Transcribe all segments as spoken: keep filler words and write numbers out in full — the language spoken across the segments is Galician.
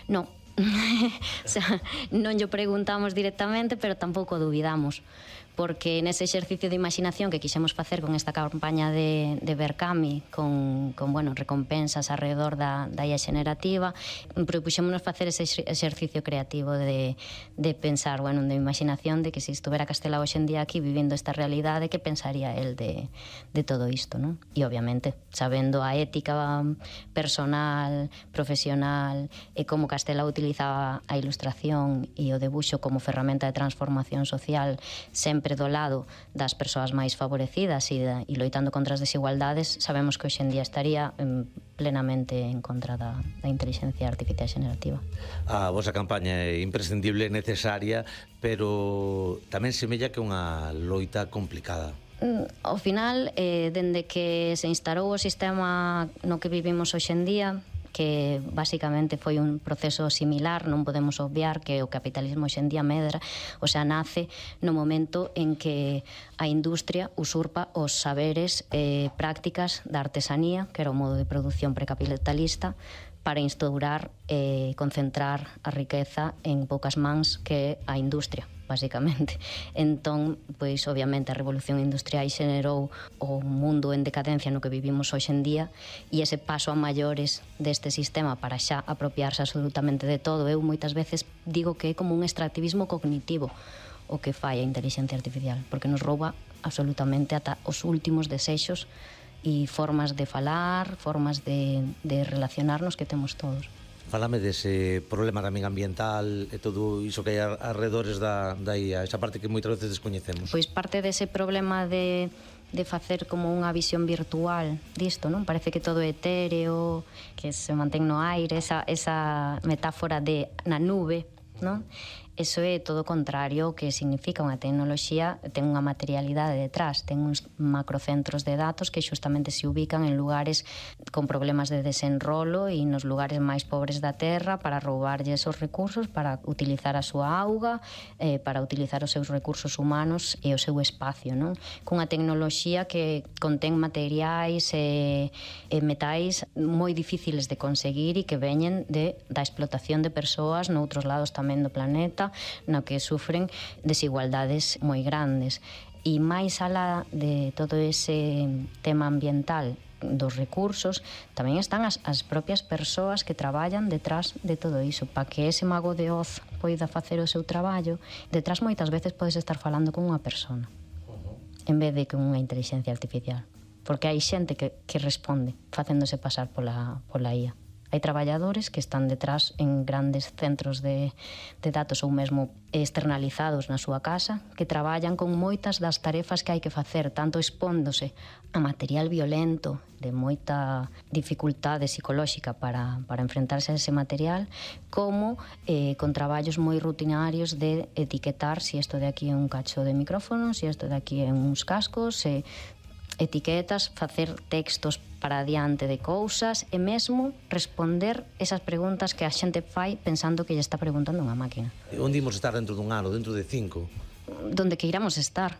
Non. O sea, non llo preguntamos directamente, pero tampouco dubidamos, porque nese exercicio de imaginación que quixemos facer con esta campaña de, de Berkami, con, con bueno, recompensas alrededor da, da I A xenerativa, propuxémonos facer ese exercicio creativo de, de pensar, bueno, de imaginación, de que se estuvera Castelao hoxe en día aquí vivindo esta realidade, que pensaría el de, de todo isto, non? E obviamente, sabendo a ética personal, profesional, e como Castelao utilizaba a ilustración e o debuxo como ferramenta de transformación social, sempre do lado das persoas máis favorecidas e, da, e loitando contra as desigualdades, sabemos que hoxe en día estaría em, plenamente en contra da, da inteligencia artificial xenerativa. A vosa campaña é imprescindible, necesaria, pero tamén semella que é unha loita complicada. Ao final, eh, dende que se instalou o sistema no que vivimos hoxe en día, que basicamente foi un proceso similar, non podemos obviar que o capitalismo hoxe en día medra, o sea, nace no momento en que a industria usurpa os saberes e eh, prácticas da artesanía, que era o modo de produción precapitalista, para instaurar e eh, concentrar a riqueza en poucas mans, que é a industria, basicamente. Entón, pois, obviamente, a revolución industrial xenerou o mundo en decadencia no que vivimos hoxe en día, e ese paso a maiores deste sistema para xa apropiarse absolutamente de todo, eu moitas veces digo que é como un extractivismo cognitivo o que fai a inteligencia artificial, porque nos rouba absolutamente ata os últimos desexos e formas de falar, formas de, de relacionarnos que temos todos. Fálame dese problema tamén ambiental e todo iso que hai arredores da, da I A, esa parte que moitas veces descoñecemos. Pois parte dese problema de, de facer como unha visión virtual disto, non? Parece que todo é etéreo, que se mantén no aire, esa, esa metáfora de na nube, non? Eso é todo o contrario que significa unha tecnoloxía, ten unha materialidade detrás, ten uns macrocentros de datos que xustamente se ubican en lugares con problemas de desenrolo e nos lugares máis pobres da terra para roubarlle esos recursos, para utilizar a súa auga, eh, para utilizar os seus recursos humanos e o seu espacio, non? Cunha tecnoloxía que contén materiais e, e metais moi difíciles de conseguir e que veñen de, da explotación de persoas noutros lados tamén do planeta, no que sufren desigualdades moi grandes. E máis alá de todo ese tema ambiental dos recursos, tamén están as, as propias persoas que traballan detrás de todo iso, para que ese mago de Oz poida facer o seu traballo. Detrás moitas veces podes estar falando con unha persona en vez de con unha inteligencia artificial, porque hai xente que, que responde facéndose pasar pola, pola I A. Hai traballadores que están detrás en grandes centros de, de datos ou mesmo externalizados na súa casa, que traballan con moitas das tarefas que hai que facer, tanto expóndose a material violento de moita dificultade psicolóxica para, para enfrentarse a ese material, como eh, con traballos moi rutinarios de etiquetar si isto de aquí é un cacho de micrófono, si isto de aquí é uns cascos, se etiquetas, facer textos para adiante de cousas e mesmo responder esas preguntas que a xente fai pensando que lle está preguntando unha máquina. Onde imos estar dentro dun ano, dentro de cinco? Donde que iramos estar.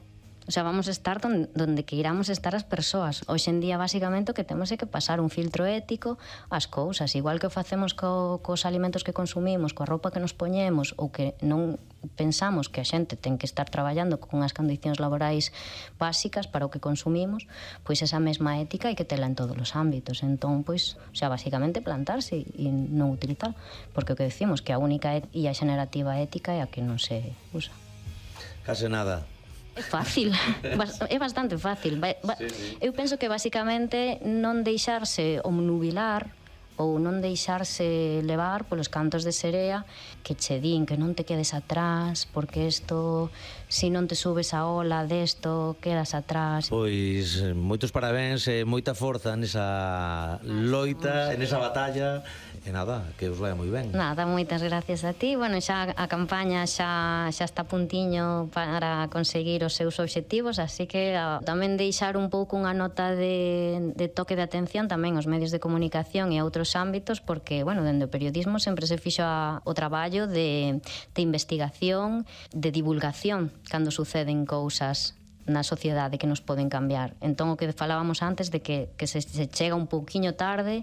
O sea, vamos a estar donde, donde que iramos estar as persoas. Hoxe en día, basicamente, o que temos é que pasar un filtro ético ás cousas. Igual que o facemos co, cos alimentos que consumimos, coa roupa que nos poñemos, ou que non pensamos que a xente ten que estar traballando con unhas condicións laborais básicas para o que consumimos, pois esa mesma ética hai que tela en todos os ámbitos. Entón, pois, o sea, basicamente plantarse e non utilizar. Porque o que decimos que a única I A xenerativa ética é a que non se usa. Case nada. É fácil, é bastante fácil. Sí, sí. Eu penso que basicamente non deixarse omnubilar ou non deixarse levar polos cantos de serea que che din que non te quedes atrás, porque isto, se non te subes a ola desto, quedas atrás. Pois moitos parabéns e moita forza nesa loita, nesa batalla. E nada, que os vai moi ben. Nada, moitas gracias a ti. Bueno, xa a campaña xa, xa está a puntiño para conseguir os seus obxectivos, así que a, tamén deixar un pouco unha nota de, de toque de atención tamén aos medios de comunicación e a outros ámbitos, porque, bueno, dende o periodismo sempre se fixo a, o traballo de, de investigación, de divulgación, cando suceden cousas na sociedade que nos poden cambiar. Entón, o que falábamos antes de que, que se, se chega un pouquiño tarde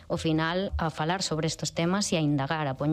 ao final a falar sobre estes temas e a indagar, a poñer